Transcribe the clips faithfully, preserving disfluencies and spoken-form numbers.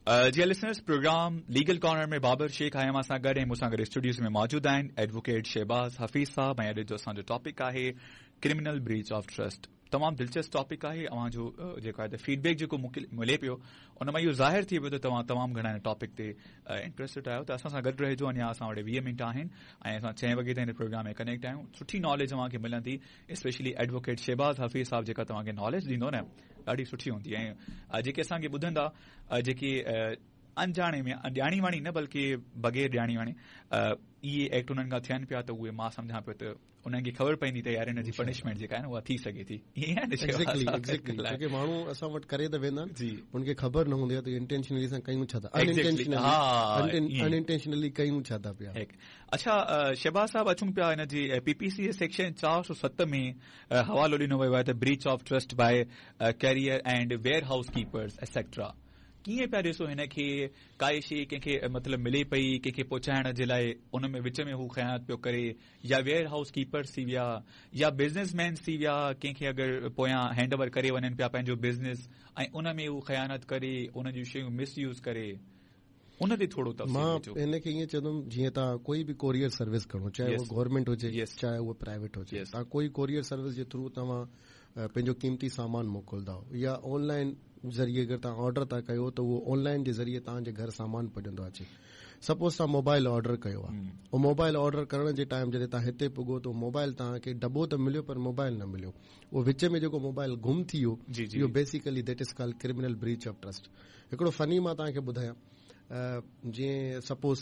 जी listeners, programme legal corner में बाबर शेख आहियां मां सां गॾु ऐं मूंसां गॾु स्टूडियोज़ में मौजूदु आहिनि एडवोकेट शहबाज़ हफ़ीज़ साहब। ऐं अॼु जो असांजो टॉपिक आहे क्रिमिनल ब्रीच ऑफ ट्रस्ट। तमामु दिलचस्प टॉपिक आहे। अव्हां जो जेको आहे त फीडबैक जेको मूंखे मिले पियो उन मां इहो ज़ाहिर थी वियो त तव्हां तमामु घणा हिन टॉपिक ते इंट्रस्टेड आहियो। त असां सां गॾु रहिजो, अञा असां वटि वीह मिंट आहिनि ऐं असां छह वॻे ताईं हिन प्रोग्राम में कनेक्ट आहियूं। सुठी नॉलेज अव्हांखे मिलंदी, स्पेशली एडवोकेट शहबाज़ हफ़ीज़ साहब जेका तव्हांखे नॉलेज ॾींदो न ॾाढी सुठी हूंदी। ऐं जेके असांखे ॿुधंदा, जेके अणॼाणे में, ॼाणी वाणी न बल्कि बग़ैर ॼाणी वाणी इहे एक्ट उन्हनि खां थियनि पिया, त उहे मां सम्झां पियो त उन्हनि खे ख़बर पवंदी त यार हिन जी पनिशमेंट जेका आहे न उहा थी सघे थी। ईअं आहे न? एग्जैक्टली एग्जैक्टली जेके माण्हू असां वटि करे त वेंदा आहिनि, उनखे ख़बर न हूंदी आहे त इंटेंशनली असां कयूं छा था, अनइंटेंशनली अनइंटेंशनली कयूं छा था पिया। अच्छा शहबाज़ साहब, अचूं पिया हिन जी पीपीसी सेक्शन चारि सौ सत में हवालो ॾिनो वियो आहे त breach of trust by carrier and warehouse keepers etcetera. कीअं पिया ॾिसो हिनखे? काई शइ कंहिंखे मतिलबु मिले पई कंहिंखे पहुचाइण जे लाइ, उन में विच में हू ख़यानत पियो करे, या वेयर हाउस कीपर्स थी विया या बिज़नेसमैन थी विया, कंहिंखे अगरि पोयां हैंड ओवर करे वञनि पिया पंहिंजो बिज़नेस ऐं उन में हू ख़यानत करे, उन जूं शयूं मिसयूज़ करे, उन ते थोरो तफ़सील। मां हिनखे ईअं चवंदुमि, जीअं तव्हां कोई बि कोरियर सर्विस करो, चाहे उहो गवर्नमेंट हुजे चाहे उहो प्राइवेट हुजे, तव्हां कोई कोरियर सर्विस जे थ्रू तव्हां पंहिंजो क़ीमती सामान मोकिलिंदा या ऑनलाइन ज़रिए अगरि तव्हां ऑर्डर था कयो त उहो ऑनलाइन जे ज़रिए तव्हांजे घर सामान पुॼंदो अचे। सपोज़ तव्हां मोबाइल ऑर्डर कयो आहे, उहो मोबाइल ऑर्डर करण जे टाइम जॾहिं तव्हां हिते पुॻो त मोबाइल तव्हांखे डॿो त मिलियो पर मोबाइल न मिलियो, उहो विच में जेको मोबाइल गुम थी वियो, इहो basically that is called criminal breach of trust. हिकिड़ो फनी मां तव्हांखे ॿुधायां, जीअं सपोज़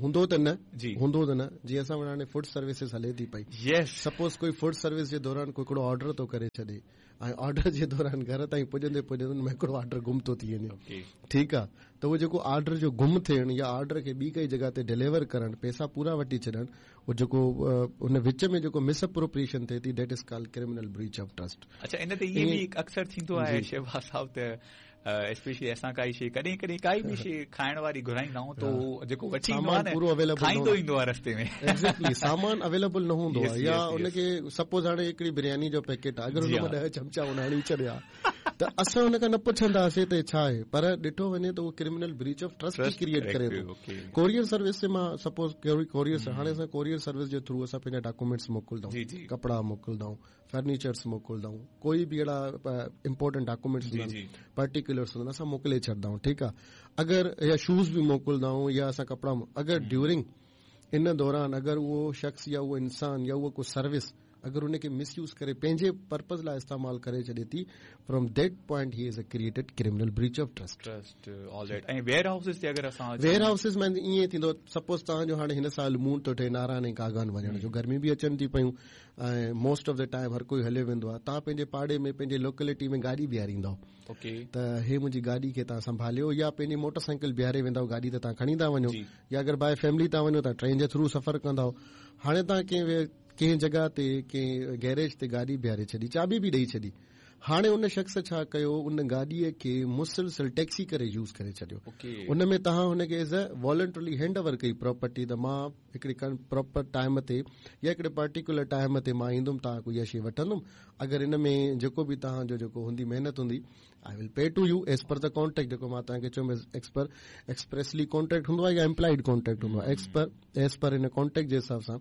हूंदो त न हूंदो त न जीअं असां वटि हाणे फूड सर्विसिस हले थी पई, सपोज़ कोई फूड सर्विस जे दौरान कोई हिकिड़ो ऑर्डर थो करे छॾे ऐं ऑर्डर जे दौरान घर ताईं पुॼंदे पुॼंदे हुन में हिकिड़ो ऑर्डर गुम थो थी वञे, ठीकु आहे, त उहो जेको ऑर्डर जो गुम थियणु या ऑर्डर खे ॿी कंहिं जॻह ते डिलीवर करणु, पैसा पूरा वठी छॾणु, उहो जेको हुन विच में जेको मिस अप्रोप्रिएशन थिए थी, that is called criminal breach of trust. अच्छा, इन ते इहे बि अक्सर थींदो आहे शहबाज़ साहब त स्पेशली असां काई शइ कॾहिं कॾहिं काई बि शइ खाइण वारी घुराईंदा आहियूं त उहो जेको वठी ईंदो आहे पूरो अवेलेबल खाईंदो ईंदो आहे रस्ते में। एग्जैक्टली, सामान अवेलेबल न हूंदो आहे, या उनखे सपोज़ हाणे हिकिड़ी बिरयानी जो पैकेट आहे, अगरि हुन मां ॾह चमचा हुन हणी छॾिया त असां हुन खां न पुछंदासीं त छा आहे, पर ॾिठो वञे त उहो criminal breach of trust E create करे थो। कोरियर सर्विस मां सपोज़ कोरियर, हाणे असां कोरियर सर्विस जे थ्रू असां पंहिंजा डॉक्यूमेंट्स मोकिलिंदा आहियूं, कपिड़ा मोकिलिंदा आहियूं, फर्नीचर्स मोकिलिंदा आहियूं, कोई बि अहिड़ा इम्पोर्टेंट डॉक्यूमेंट्स हूंदा आहिनि, पर्टिकुलर्स हूंदा आहिनि, असां मोकिले छॾंदा आहियूं, ठीकु आहे। अगरि या शूज़ बि मोकिलिंदा आहियूं या असां कपिड़ा, अगरि ड्यूरिंग इन दौरान अगरि उहो शख़्स या उहो इंसान या उहो को सर्विस अगरि उनखे मिसयूज़ करे पंहिंजे पर्पज़ लाइ इस्तेमालु करे छॾे थी, from that point he is a created criminal breach of trust. Trust all that. ऐं वेयर हाउसेस ते अगरि असां वेयर हाउसेस में ईअं थींदो, सपोज़ तव्हांजो हाणे हिन साल मूड थो ठहे नारायण ऐं कागान वञण जो, गर्मी बि अचनि थी पयूं ऐं मोस्ट ऑफ the time हर कोई हलियो वेंदो आहे, तव्हां पंहिंजे पाड़े में पंहिंजे लोकेलिटी में गाॾी बीहारींदव, ओके, त हे मुंहिंजी गाॾी खे तव्हां संभालियो, या पंहिंजी मोटरसाइकिल बीहारे वेंदव, गाॾी त तव्हां खणी था वञो, या अगरि बाय फैमिली था वञो त ट्रेन जे थ्रू सफ़र कंदव। हाणे तव्हां कंहिं कंहिं जॻह ते कंहिं गैरेज ते गाॾी बीहारे छॾी, चाबी बि ॾेई छॾी, हाणे उन शख़्स छा कयो, उन गाॾीअ खे मुसलसल टैक्सी करे यूज़ करे छॾियो। उन में तव्हां हुनखे as a voluntarily hand over कई प्रॉपर्टी, त मां हिकिड़ी प्रॉपर टाइम ते या हिकिड़े पर्टिकुलर टाइम ते मां ईंदुमि, तव्हां कोई इहा शइ वठंदुमि, अगरि इन में जेको बि तव्हांजो जेको हूंदी महिनत हूंदी, I will pay to you as per the contract, जेको मां तव्हांखे चयो एक्सपर एक्सप्रेसली कॉन्ट्रैक्ट हूंदो आहे या एम्प्लॉइड कॉन्ट्रैक्ट हूंदो आहे, एक्सपर एज़ पर हिन कॉन्ट्रैक्ट जे हिसाब सां।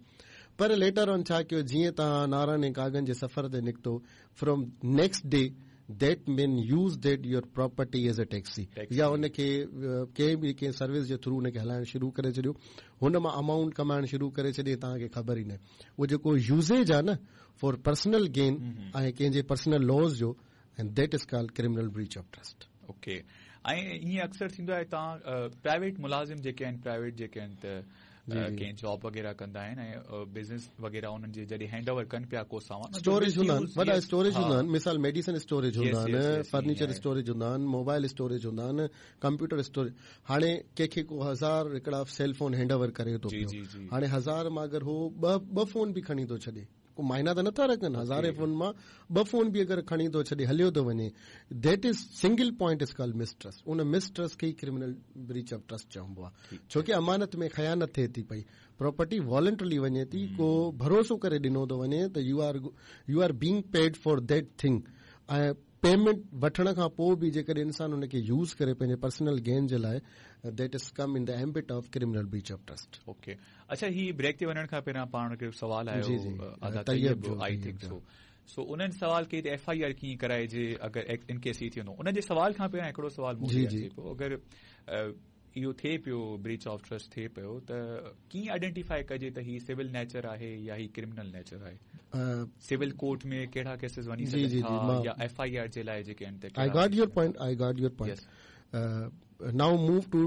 पर लेटर ऑन छा कयो, जीअं तव्हां नारायण ऐं कागन जे सफ़र ते निकितो, from next day that man use that your property as a taxi, या उनखे कंहिं बि कंहिं सर्विस जे थ्रू उनखे हलाइणु शुरू करे छॾियो, हुन मां अमाउंट कमाइणु शुरू करे छॾे, तव्हांखे ख़बर ई न। उहो जेको यूज़ेज आहे न फॉर पर्सनल गेन ऐं कंहिंजे पर्सनल लॉस जो, and that is called criminal breach of trust. Okay, ऐं ईअं अक्सर थींदो आहे तव्हां प्राइवेट मुलाज़िम जेके आहिनि, प्राइवेट जेके आहिनि त कंहिं जॉब वग़ैरह कंदा आहिनि ऐं बिज़नेस वग़ैरह उन्हनि जे जॾहिं हैंड ओवर कनि पिया को सामान स्टोरेज हूंदा आहिनि, वॾा स्टोरेज हूंदा आहिनि, मिसाल मेडिसिन स्टोरेज हूंदा आहिनि, फर्नीचर स्टोरेज हूंदा आहिनि, मोबाइल स्टोरेज हूंदा आहिनि, कंप्यूटर स्टोरेज। हाणे कंहिंखे को हज़ार हिकिड़ा सेल फोन हैंड ओवर करे थो पियो, हाणे हज़ार मां अगरि हू ॿ ॿ फोन बि खणी थो छॾे, को मायना त नथा रखनि, हज़ारे फोन मां ॿ फोन बि अगरि खणी थो छॾे हलियो थो वञे, that is single point is called mistrust. उन मिसट्रस्ट खे ई क्रिमिनल ब्रीच ऑफ ट्रस्ट चइबो आहे, छो की अमानत में ख़यानत थिए थी पई, प्रॉपर्टी वॉलंटरली वञे थी, को भरोसो करे ॾिनो थो वञे त you are you are being paid for that thing, ऐं پيمينٽ وٺڻ کان پوءِ به جيڪڏهن انسان ان کي يوز ڪري پنهنجي پرسنل گين جي لاءِ، that is come in the ambit of criminal breach of trust. Okay, اڇا، هي بريڪ تي وڃڻ کان پهريان پاڻ کي سوال آيو ادا طيب جو، I think so سو انهن سوال ڪئي ته ايف I R ڪيئن ڪرائجي اگر ان ڪيس هي ٿي ويندو. انهن جي سوال کان پهريان هڪڙو سوال مون کي اچي پيو، اگر اهو ٿئي پيو، بريچ آف ٽرسٽ ٿئي پيو، ته ڪيئن آئيڊينٽيفائي ڪجي ته هي سول نيچر آهي يا هي ڪرمنل نيچر آهي؟ سول ڪورٽ ۾ ڪهڙا ڪيسز وڃي سگهن ٿا يا ايف I R جي لاءِ جيڪي آهن؟ I got your point, I got your point. Now move to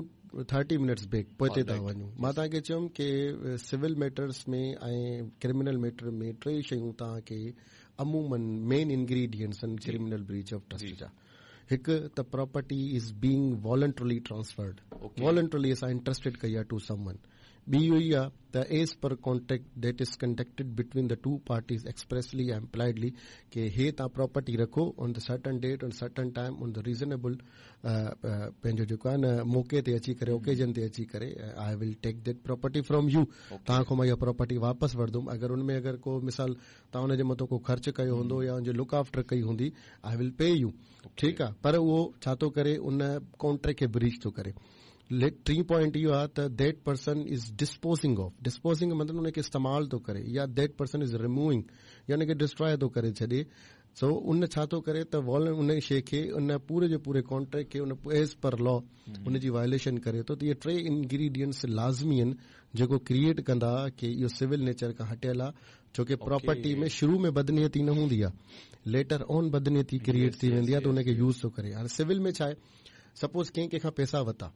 thirty minutes back, پوئتي ٿا وڃون. مان توهان کي چيم ڪه سول ميٽرس ۾ ۽ ڪرمنل ميٽر ۾ ٽي شيون توهان کي عمومن مين انگريڊينٽس آهن ڪرمنل بريچ آف ٽرسٽ جا. هڪ ته property is being voluntarily transferred, voluntarily اسان انٽرسٽيڊ ڪئي آهي ٽو سم ون. ٻي اهو ئي آهي ته as per contract that is conducted between the two parties expressly ۽ impliedly ڪه هي توهان پراپرٽي رکو on the certain date on certain time on the reasonable پنهنجو جيڪو آهي نه موقعي تي اچي ڪري، اوڪيزن تي اچي ڪري I will take that property from you, توهان کان مان اها پراپرٽي واپس وٺندم. اگر ان ۾ اگر ڪو مثال توهان ان جي مٿان ڪو خرچ ڪيو هوندو يا ان جي لڪ آفٽر ڪئي هوندي، I will P U. ٺيڪ آهي، پر اهو ڇا ٿو ڪري؟ ان ڪانٽريڪٽ کي بريچ ٿو ڪري. ٽين پوائنٽ اهو آهي ته that person is disposing of, disposing مطلب ان کي استعمال ٿو ڪري، يا that person is removing يا ان کي ڊسٽرائي ٿو ڪري ڇڏي. سو ان ڇا ٿو ڪري ته ان شيءِ کي، ان پوري جو پوري ڪانٽريڪٽ کي، ان ايز پر لا ان جي وايوليشن ڪري ٿو. ته اهي ٽي انگريڊينٽس لازمي آهن جيڪو ڪريئيٽ ڪندا ڪه اهو سول نيچر کان هٽيل آهي، ڇو ڪه پراپرٽي ۾ شروع ۾ بدنيتي نه هوندي آهي، ليٽر آن بدنيتي ڪريئيٽ ٿي ويندي آهي ته ان کي يوز ٿو ڪري. هاڻي سول ۾ ڇا آهي، سپوز ڪنهن ڪنهن کان پئسا ورتا،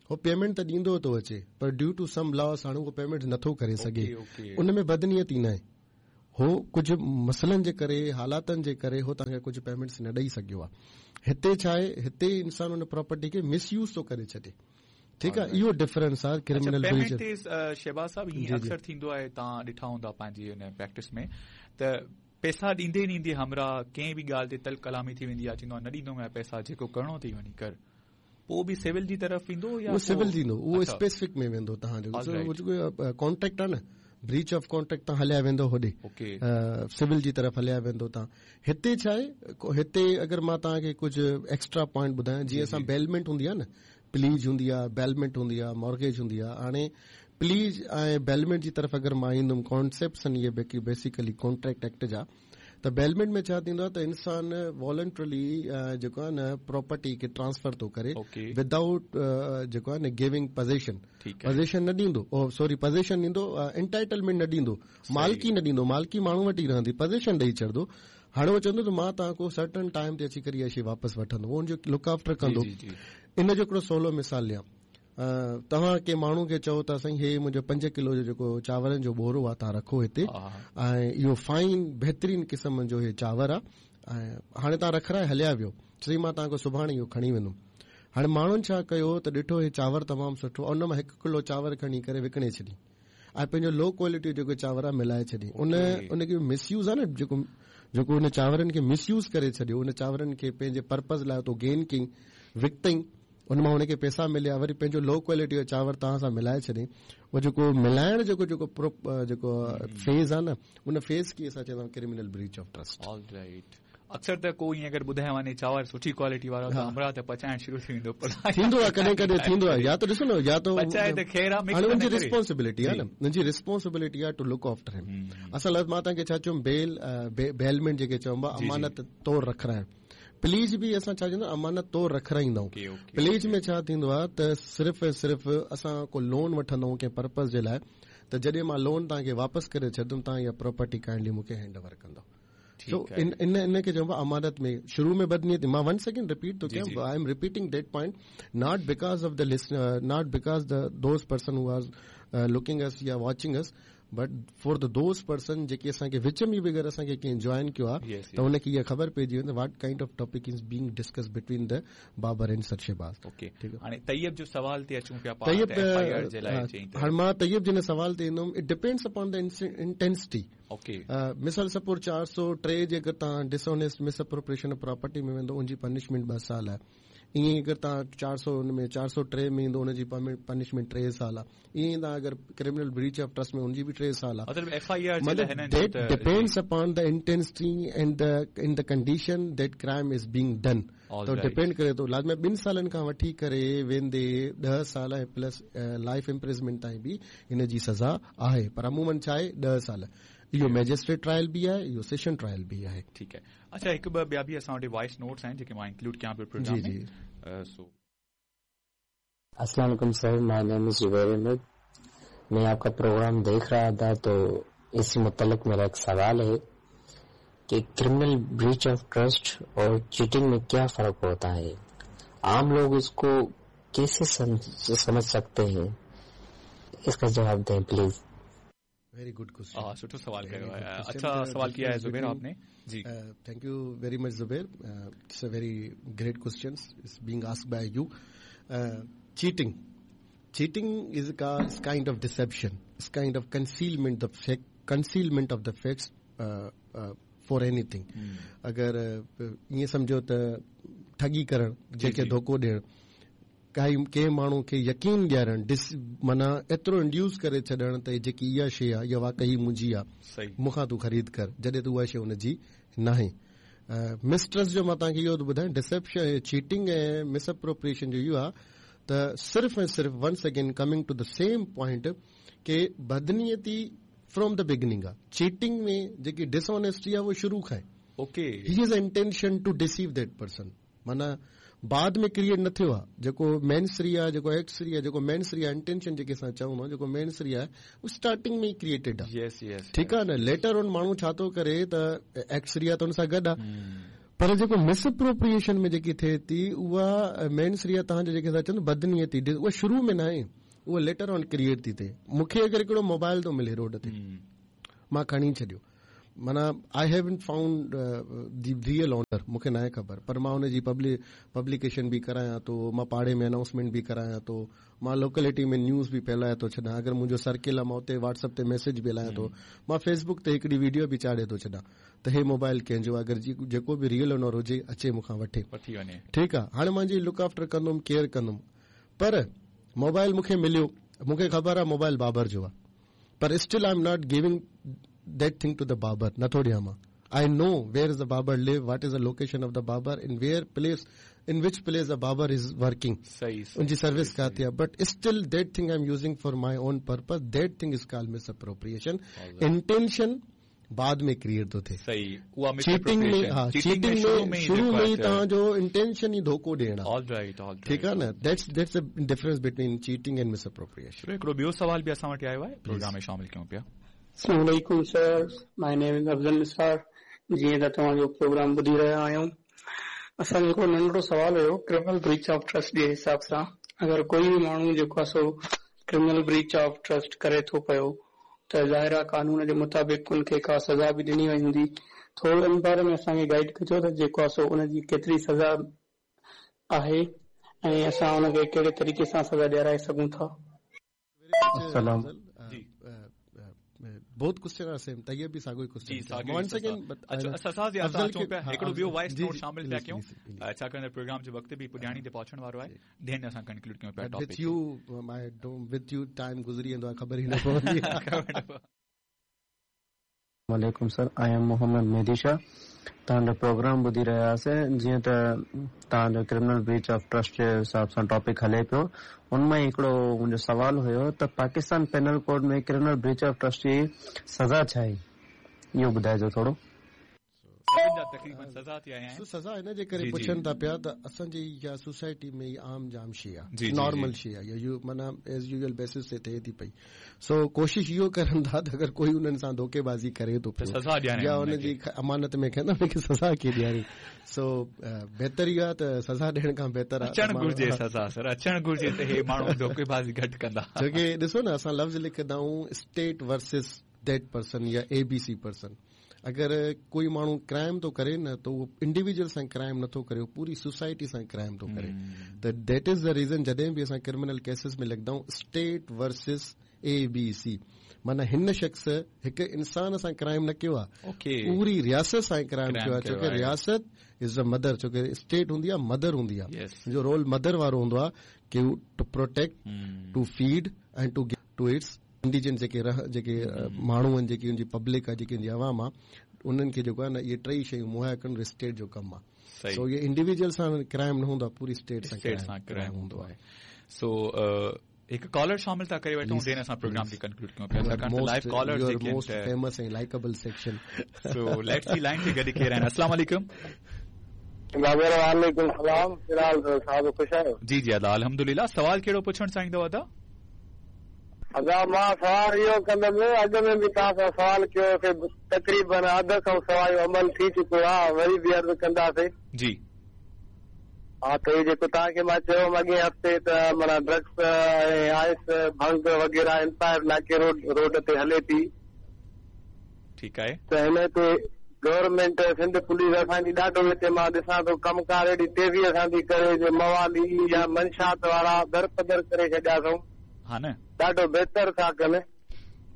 هو پيمينٽ ته ڏيندو ٿو اچي پر ڊيو ٽو سم لاس هاڻي اهو پيمينٽ نٿو ڪري سگهي، ان ۾ بدنيتي نه آهي، هو ڪجهه مسئلن جي ڪري، حالاتن جي ڪري هو توهان کي ڪجهه پيمينٽس نه ڏيئي سگهيو آهي. هتي ڇا آهي، هتي انسان ان پراپرٽي کي مس يوز ٿو ڪري ڇڏي. ٺيڪ آهي، اهو ڊفرنس آهي ڪرمنل بريچ. شهباز صاحب، ائين اڪثر ٿيندو آهي، توهان ڏٺا هوندا پنهنجي ان پريڪٽس ۾ ته پئسا ڏيندي ڏيندي همراهه ڪنهن به ڳالهه تي تلخ ڪلامي ٿي ويندي آهي، چوندو آهي نه ڏيندومانءِ پئسا، جيڪو ڪرڻو اٿئي وڃي ڪر. پوءِ به سول جي طرف ايندو يا اهو سول ٿيندو؟ اهو اسپيسفڪ ۾ ويندو. توهان جو جيڪو ڪانٽريڪٽ آهي نه، بريچ آف ڪانٽريڪٽ، توهان هليا ويندو هوڏي سول جي طرف هليا ويندو توهان. هتي ڇا آهي، هتي اگر مان توهان کي ڪجهه ايڪسٽرا پوائنٽ ٻڌايان، جيئن اسان بيلمينٽ هوندي آهي نه، پليج هوندي آهي، بيلمينٽ هوندي آهي، مارگيج هوندي آهي. هاڻي پليج ۽ بيلمينٽ جي طرف اگر مان ايندم، ڪانسيپٽس آهن اهي بيسيڪلي ڪانٽريڪٽ ايڪٽ جا. ته بيلمينٽ ۾ ڇا ٿيندو آهي ته انسان والنٽرلي جيڪو آهي نه پراپرٽي کي ٽرانسفر ٿو ڪري ودائوٽ جيڪو آهي نه گيونگ پزيشن. پزيشن نه ڏيندو، سوري پزيشن ڏيندو، انٽائٽلمينٽ نه ڏيندو، مالڪي نه ڏيندو، مالڪي ماڻهو وٽ ئي رهندي، پزيشن ڏيئي ڇڏندو. هاڻي اهو چوندو ته مان توهان کان سرٽن ٽائيم تي اچي ڪري اها شيءِ واپس وٺندو، اهو ان جو لڪ آفٽر ڪندو. ان جو هڪڙو سولو مثال ڏيان، توهان ڪنهن ماڻهو کي چئو ته سائين هي منهنجو پنج ڪلو جو جيڪو چانورن جو ٻورو آهي توهان رکو هتي، ۽ اهو فائن بهترين قسم جو هي چانور آهي، ۽ هاڻي توهان رکرائي هليا ويو، سائين مان توهان کان سڀاڻي اهو کڻي ويندم. هاڻي ماڻهن ڇا ڪيو ته ڏٺو هي چانور تمام سٺو، ان مان هڪ ڪلو چانور کڻي ڪري وڪڻي ڇڏي ۽ پنهنجو لو ڪوالٽي جيڪو چانور آهي ملائي ڇڏي. ان ان کي مس يوز آهي نه، جيڪو جيڪو ان چانورن کي مس يوز ڪري ڇڏيو، ان چانورن کي پنهنجي پرپز لاءِ تو گين ڪئي، وڪتئي، ان مان هن کي پئسا مليا، وري پنهنجو لو ڪوالٽي جو چانور توهان سان ملائي ڇڏي. اهو جيڪو ملائڻ جيڪو جيڪو جيڪو فيز آهي نه، ان فيز کي اسان چوندا آهيون criminal breach of trust. All right, اڪثر ته ڪو ائين اگر ٻڌائي وڃي چانور سٺي ڪوالٽي وارو ته همراهه ته پچائڻ شروع ٿي ويندو. ٿيندو آهي ڪڏهن ڪڏهن ٿيندو آهي، يا ته ڏسو نه، يا ته پچائي ته خير آهي، هاڻي ان جي ريسپانسبلٽي آهي نه، ان جي ريسپانسبلٽي آهي ٽو لڪ آفٽر هم. اصل مان توهان کي ڇا چيم، بيل بيلمينٽ جيڪي چئبو آهي امانت طور رکرائڻ، پليج به اسان ڇا چوندا امانت طور رکرائيندا آهيون. پليج ۾ ڇا ٿيندو آهي ته صرف ۽ صرف اسان ڪو لون وٺندا آهيون ڪنهن پرپز جي لاءِ، ته جڏهن مان لون توهان کي واپس ڪري ڇڏندم توهان اها پراپرٽي ڪائنڊلي مون کي هينڊ اوور ڪندؤ. سو ان ان کي چئبو آهي امانت ۾ شروع ۾ بدنيتي. مان ون سيڪنڊ رپيٽ ٿو ڪيان، I am repeating that point not because of the listener, not because the those person who are looking us يا watching us, but for the those person جيڪي اسان کي وچ ۾ به اگر اسان کي ڪنهن جوائن ڪيو آهي ته هن کي اها خبر پئجي ويندي what kind of topic is being discuss between the Babar and sir Shahbaz. Okay, هاڻي طيب جو سوال تي اچون پيا. طيب هاڻي مان طيب جي سوال تي ايندم. It depends upon the intensity. Okay, مثال سپوز چار سؤ ٽي جي اگر توهان dishonest misappropriation of property ۾ ويندو، ان جي پنشمينٽ ٻه سال آهي. ईअं ई अगरि तव्हां चारि सौ हुन में चारि सौ टे में ईंदो हुनजी पनिशमेंट टे साल आहे। ईअं ई तव्हां अगरि क्रिमिनल ब्रीच ऑफ ट्रस्ट में हुनजी बि टे साल आहे। मतिलबु एफ I R मतिलबु that depends upon the intensity and the in the condition that crime is being done. त डिपेंड करे थो लाज़मी ॿिनि सालनि खां वठी करे वेंदे ॾह साल ऐं प्लस लाइफ इम्प्रिजमेंट ताईं बि हिन जी सज़ा आहे, पर अमूमन छा आहे ॾह साल। इहो मैजिस्ट्रेट ट्रायल बि आहे, इहो सेशन ट्रायल बि आहे। ठीकु आहे। अच्छा, हिकु ॿ ॿिया बि असां वटि वॉइस नोट्स आहिनि जेके मां इंक्लूड कयां पियो प्रोग्राम जी, में। सो अस्सलाम वालेकुम sir, my name is Zubair Ahmed. मैं आपका प्रोग्राम देख रहा था तो इसी मुतल्लिक मेरा एक सवाल है कि क्रिमिनल ब्रीच ऑफ ट्रस्ट और चीटिंग में क्या फर्क होता है? आम लोग इसको कैसे समझ सकते हैं? इसका जवाब दें प्लीज। Very good question. सुठो सवाल कयो आहे। अच्छा सवाल किया है जुबैर आपने। जी, thank you very much Zubair. It's a very great question is being asked by you. Cheating cheating is a kind of deception, is kind of concealment the fact, concealment of the facts for anything. अगरि ईअं सम्झो त ठगी करणु, जंहिंखे धोखो ॾियणु, काई कंहिं माण्हू खे यकीन ॾियारणु, डिस माना एतिरो इंड्यूस करे छॾणु त जेकी इहा शइ आहे इहा वाकई मुंहिंजी आहे, मूंखां तूं ख़रीद कर, जॾहिं त उहा शइ हुनजी नाहे। मिसट्रस्ट जो मां तव्हांखे इहो थो ॿुधायां, डिसेप्शन, चीटिंग ऐं मिसअप्रोप्रिएशन जो इहो आहे त सिर्फ़ ऐं सिर्फ़ once again coming to the same point के बदनीयती फ्रॉम the beginning आहे। चीटिंग में जेकी डिसऑनेस्टी आहे उहो शुरू खां okay, he is intention to deceive that person, माना बाद में क्रिएट न थियो आहे। जेको मेंस रिया आहे, जेको एक्स रिया आहे, जेको मेंस रिया इंटेंशन जेके असां चऊं था, जेको मेंस रिया आहे उहो स्टार्टिंग में ई क्रिएटेड आहे। यस यस, ठीकु आहे न। लेटर ऑन माण्हू छा थो करे त एक्स रिया त हुन सां गॾु आहे, पर जेको मिसअप्रोप्रिएशन में जेकी थिए थी उहा मेंस रिया तव्हांजो जेके असां चऊं बदनीयती, उहा शुरू में न आहे, उहा लेटर ऑन क्रिएट थी थिए। मूंखे अगरि हिकिड़ो मोबाइल थो मिले रोड ते, मां खणी छॾियो, माना I haven't found the real owner, मूंखे न आहे ख़बर, पर मां हुनजी पब्लि पब्लिकेशन बि करायां थो, मां पाड़े में अनाउंसमेंट बि करायां थो, मां लोकेलिटी में न्यूज़ बि फैलायां थो छॾां, अगरि मुंहिंजो सर्किल आहे मां उते व्हाट्सएप ते मैसेज बि हलायां थो, मां फेसबुक ते हिकिड़ी वीडियो बि चाढ़े थो छॾां त हे मोबाइल कंहिंजो आहे, अगरि जेको बि रियल ओनर हुजे अचे मूंखां वठे वठी वञे। ठीकु आहे। हाणे मांजी लुक आफ्टर कंदुमि, केयर कंदुमि, पर मोबाइल मूंखे मिलियो, मूंखे ख़बर आहे मोबाइल बाबर जो आहे, पर still I am not giving that thing to the Babar, नथो ॾियां मां। I know where is the Babar live, what is the location of the Babar, in where place, in which place the Babar is working, उनजी service काथे आहे, but still that thing I am using for my own purpose, that thing is called misappropriation. Intention बाद में create थो थिए। सही, उहा cheating में, हा, चीटिंग में शुरू में ई तव्हांजो इंटेंशन ई धोखो ॾियणु आहे। ऑलराइट, ऑलराइट, ठीकु आहे न। That's that's the difference between cheating and misappropriation. हिकिड़ो ॿियो सवाल बि असां वटि आयो आहे, प्रोग्राम में शामिल कयूं पिया। अस्सलाम वालेकुम sir, my name is Afzal Nisar. जीअं त तव्हांजो प्रोग्राम ॿुधी रहिया आहियूं, असांजो हिकिड़ो नंढड़ो सवाल हुयो क्रिमिनल ब्रीच ऑफ ट्रस्ट जे हिसाब सां। अगरि कोई बि माण्हू जेको आहे सो क्रिमिनल ब्रीच ऑफ ट्रस्ट करे थो पियो त ज़ाहिर आहे कानून जे मुताबिक़ उनखे का सज़ा बि ॾिनी वई हूंदी। थोरो इन बारे में असांखे गाइड कजो त जेको आहे सो उनजी केतिरी सज़ा आहे ऐं असां उनखे कहिड़े तरीक़े सां सज़ा ॾियाराए सघूं था। अस्सलाम both question are same, Tayyab बि साॻियो ई क्वेश्चन। वंस अगेन अच्छा, असां जे असां अचूं पिया, हिकिड़ो ॿियो वॉइस नोट शामिल पिया कयूं, छाकाणि त प्रोग्राम जो वक़्तु बि पुॼाणी ते पहुचण वारो आहे, then असां कंक्लूड कयूं पिया topic. With you my with you time गुज़री वेंदो आहे, ख़बर ई न पवंदी आहे। वालेकुम sir, I am Mohammad Mehdi Shah. तव्हांजो प्रोग्राम ॿुधी रहिया हुआसीं। जीअं त तव्हांजो क्रिमिनल ब्रीच ऑफ ट्रस्ट जे हिसाब सां टॉपिक हले पियो, उन मां हिकिड़ो मुंहिंजो सवाल हुयो त Pakistan penal code में criminal breach of trust जी सज़ा छा आहे, इहो ॿुधाइजो थोरो। सज़ा थी आया सो सज़ा हिन जे करे पुछनि था पिया त असांजी इहा सोसाइटी में आम जाम शइ आहे, नॉर्मल शइ आहे, इहो माना एज यूजुअल बेसिस ते थिए थी पई। सो कोशिश इहो करनि था त अगरि कोई उन्हनि सां धोखेबाज़ी करे थो पियो या हुनजी अमानत में खणंदा हुनखे सज़ा कीअं ॾियारी। सो बहितर इहो आहे त सज़ा ॾियण खां बहितर आहे अचणु घुरिजे सज़ा सर, अचणु घुरिजे त हे माण्हू धोखेबाज़ी घटि कंदा। छो की ॾिसो न असां लफ़्ज़ लिखंदा आहियूं स्टेट वर्सेस that person या एबीसी पर्सन। अगरि कोई माण्हू क्राइम थो करे न त उहो इंडिविजुअल सां क्राइम नथो करे, उहो पूरी सोसाइटी सां क्राइम थो करे। त that is the reason जॾहिं बि असां क्रिमिनल केसिस में लिखंदा आहियूं state versus A B C. माना हिन शख़्स हिकु इंसान सां क्राइम न कयो आहे, पूरी रियासत सां क्राइम कयो आहे, छो की रियासत is a mother, छो की स्टेट हूंदी आहे मदर हूंदी आहे, जो रोल मदर वारो हूंदो आहे की to protect, to feed and to to its indigent जेके जेके माण्हू आहिनि, जेकी उनजी पब्लिक आहे, जेकी उनजी अवाम आहे, उन्हनि खे जेको आहे न इहे टेई शयूं मुहैया करणु स्टेट जो कमु आहे। सो इहे इंडिविजुअल सां क्राइम न हूंदो आहे, पूरी स्टेट सां क्राइम हूंदो आहे। सो हिकु कॉलर शामिल था करे वठूं, then असां प्रोग्राम खे कंक्लूड कयूं पिया, छाकाणि त लाइव कॉलर जेके मोस्ट फेमस ऐं likeable section. So let's see line ते गॾु केरु आहिनि। अस्सलाम वालेकुम। बाबर वालेकुम सलाम। फिलहाल साहब ख़ुशि आहियो? जी जी अदा अल्हम्दुलिल्लाह। सवाल कहिड़ो पुछणु चाहींदो अदा? अदा मां सवाल इहो कंदुमि, अॻु में बि तव्हां सां सवाल कयोसीं, तक़रीबन अध खां सवा जो अमल थी चुको आहे, वरी बि अर्ज़ु कंदासीं। जी हा, त इहो जेको तव्हांखे मां चयो अॻे हफ़्ते त माना ड्रग्स ऐं आइस भंग वग़ैरह एम्पायर नाके रोड रोड ते हले थी, ठीकु आहे, त हिन ते गवर्नमेंट सिंध पुलिस असांजी ॾाढो हिते मां ॾिसां थो कमकार एॾी तेज़ीअ सां थी करे जो मवाली या मंशात वारा दरपदर करे छॾिया अथऊं। हा न, ॾाढो बहितर था कनि,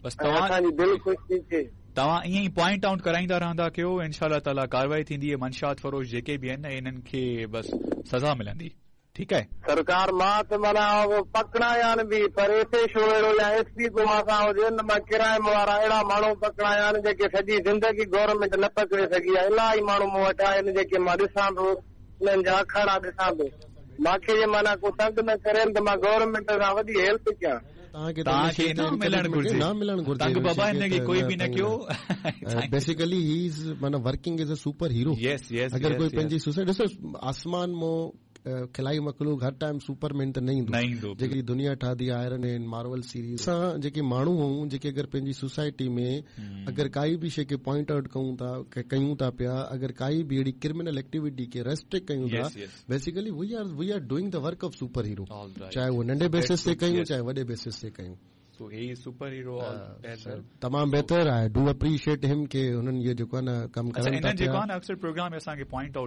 बसि तव्हां असांजी दिलि ख़ुशि थी थिए। तव्हां ईअं ई पॉइंट आउट कराईंदा रहंदा कयो, इंशाअल्लाह ताला कार्रवाई थींदी। मंशात फरोश जेके बि आहिनि इन्हनि खे बसि सज़ा मिलंदी। ठीकु आहे सरकार, मां त माना पकड़ाया आहिनि बि, पर एस एच ओ अहिड़ो या एस पी को मां सां हुजे न, मां क्राइम वारा अहिड़ा माण्हू पकड़ाया आहिनि जेके सॼी ज़िंदगी गवर्नमेंट न पकड़े सघी आहे। इलाही माण्हू मूं वटि आहिनि जेके मां ॾिसां थो, उन्हनि जा अखाड़ा ॾिसां थो। मूंखे जे माना को तंग न करे त मां गवर्नमेंट सां वॾी हेल्प कयां। तव्हांखे न मिलणु घुरिजे, न मिलणु घुरिजे तंग बाबा हिनखे कोई बि न कयो। बेसिकली he is माना working as a super hero. Yes yes. अगरि कोई पंहिंजी सुसाइड ॾिसो, आसमान मां खिलाई मखलूक हर टाइम सुपरमैन त न ईंदो, न ईंदो। जेकी दुनिया ठाधी आयरन मैन मार्वल सीरीज़ असां जेके माण्हू आहियूं, जेके अगरि पंहिंजी सोसाइटी में अगरि काई बि शइ खे पॉइंट आउट कयूं था कयूं था पिया, अगरि काई बि अहिड़ी क्रिमिनल एक्टिविटी खे रेस्ट्रिक्ट कयूं था, basically we are we are doing the work of super hero, चाहे उहो नंढे बेसिस ते कयूं चाहे वॾे बेसिस ते कयूं। सो ही सुपर हीरो तमामु बहितर आहे। Do appreciate him के हुननि इहो जेको आहे न कमु करनि था। जेको आहे न अक्सर प्रोग्राम में असांखे पॉइंट आउट